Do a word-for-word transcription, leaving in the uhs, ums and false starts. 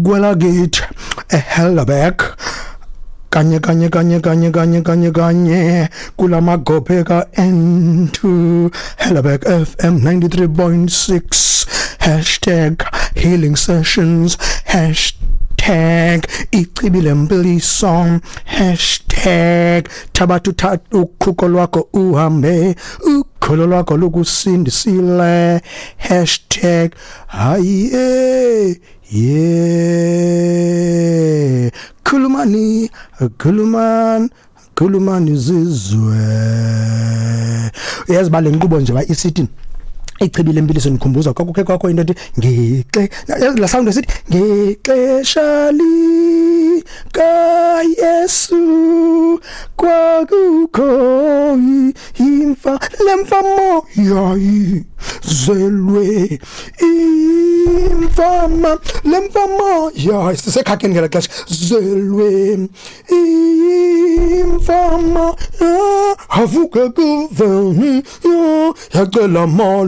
Kwelakithi eHelderberg, kanye kanye kanye kanye kanye kanye kanye kulamagophe ka N two, Helderberg F M ninety-three point six, hashtag healing sessions, hashtag ichibi lempiliso, hashtag thabatha uthatha ukhuko lwakho uhambe, ukholo lwakho lukusindisile, hashtag hayi ye khulumani khulumani khulumani zizwe. Uyazi ba le nkqubo nje ba isithi ichibi lempiliso, nikhumbuza kwakukhe kwakho into ethi ngexe la sound esithi ngexesha lika Yesu kwakukho imfa lemfamo yayizelwe imfama lemfamo ya sisekhakheni ngela xesha zelwe imfama havuke kuve yacela.